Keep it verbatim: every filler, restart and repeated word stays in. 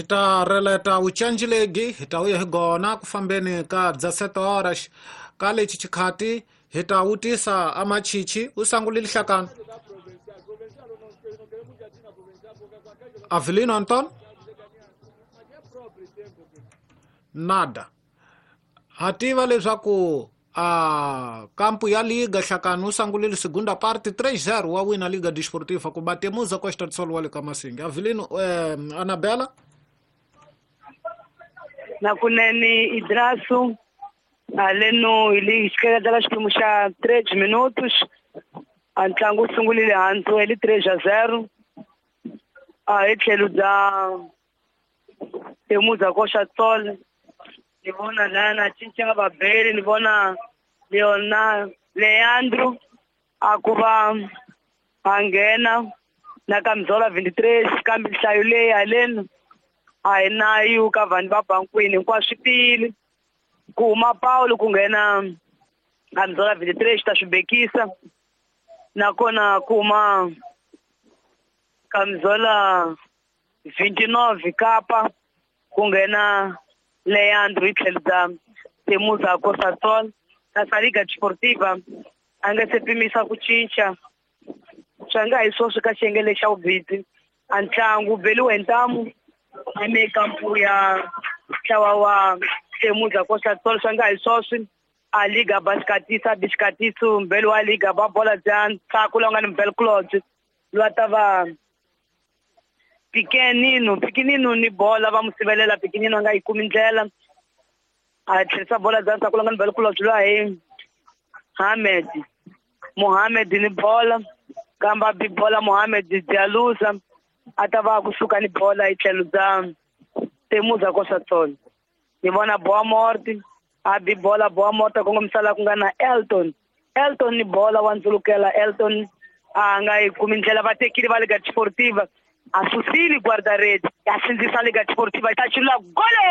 Hi ta releta wucenji legi hi ta vuya hi gona ku fambeni ka dezessete horas ka lexi xikhati hi ta wutisa amachichi u sangulile hlakani Avelino Anton nada ha tiva leswaku a kampu ya liga hlakani u sangulile segunda parte três zero wa wina Liga Desportiva ku batemuza Costa do Sol wa le ka Masinga. Avelino eh, Anabela na kunene Idrasu aleno ili xikeleta xiphemu xa três minutos a ntlangu wu sungulile hansi eli três a zero a hi tlhelo bya Temuza Costa do Sol ni vona lana cinca vabeli ni vona Leona Leandro a ku va a nghena na Kamzola vinte e três kambe nhlayo leyi haleni a hi na yu ka vanhu va bankwini hinkwaswo swi tiyile ku huma Paulo ku nghena Kamzola vinte e três ta swi bekisa nakona ku huma Kamzola vinte e nove Kapa ku nghena Leandro hi tlhelo bya Temuza Costa do Sol kasi Liga Desportiva a nga se pimisa ku cinca swa nga hi swoswi ka xiyenge lexi xa vubidzi a ntlangu beliwe hi ntamu eme kampu ya ntlawa wa Temuza Costa do Sol swa nga hi swoswi a liga basikatisa bisikatiso mbeli wa liga ba bola bya ntshaku lowu nga ni mbel Claude loyi a ta va Pikenino Pikenino ni bola va mu sivelela Pikenino a nga yi kumi ndlela a tlherisa bola bya ntshaku lowu nga ni mbel Claude loyi hi Hamed Mohamed ni bola kambe a bi bola Mohamed Dialuza a ta va kusuka ni bola hi tlhelo bya Temuza Costa do Sol ni vona Boa Morte a bi bola Boa Morte a kongomisa laha ku nga na Elton Elton ni bola wa ndzulukela Elton a nga yi kumi ndlela va tekile va Liga Desportiva a susile guarda-redes a sindzisa Liga Desportiva yi ta chulula gole.